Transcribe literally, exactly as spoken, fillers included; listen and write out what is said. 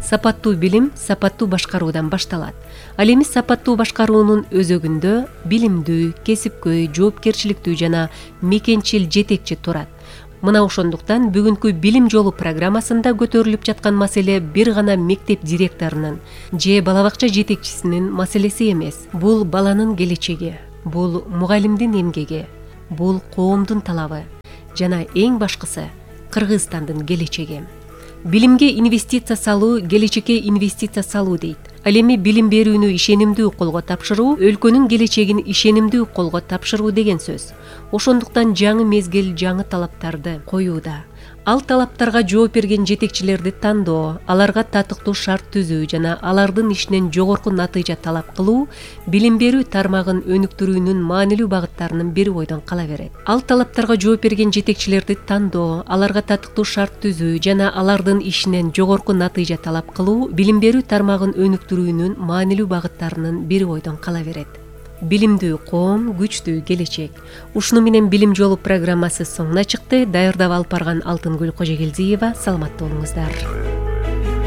Сапаттуу билим сапаттуу башкаруудан башталат. Ал эми сапаттуу башкаруунун өзөгүндө билимдүү, кесипкөй, жоопкерчиликтүү жана мекенчил жетекчи турат. Мына ошондуктан бүгүнкү билим жолу программасында көтөрүлүп жаткан маселе бир гана мектеп директорунун же бала бакча жетекчисинин маселеси эмес. Бул баланын келечеги, бул мугалимдин эмгеги, бул коомдун талабы жана эң башкысы Кыргызстандын келечеги. Билимге инвестиция салуу келечекке инвестиция салуу дейт. Ал эми билим берүүнү ишенимдүү колго тапшыруу өлкөнүн келечегин ишенимдүү колго тапшыруу деген сөз. Ошондуктан жаңы мезгил жаңы талаптарды коюуда. Ал талаптарга жооп берген жетекчилерди тандоо, аларга татыктуу шарт түзүү жана алардын ишинен жогорку натыйжа талап кылуу билим берүү тармагын өнүктүрүүнүн маанилүү багыттарынын бири бойдон кала берет. Ал талаптарга жооп берген жетекчилерди тандоо, аларга татыктуу шарт түзүү жана алардын ишинен жогорку натыйжа талап кылуу билим берүү тармагын өнүктүрүүнүн маанилүү багыттарынын бири бойдон кала берет. Билимдүү коом, күчтүү келечек. Ушуну менен билим жолу программасы соңуна чыкты. Даярдап алып барган Алтынгүл Кожогелдиева. Саламатта болуңуздар.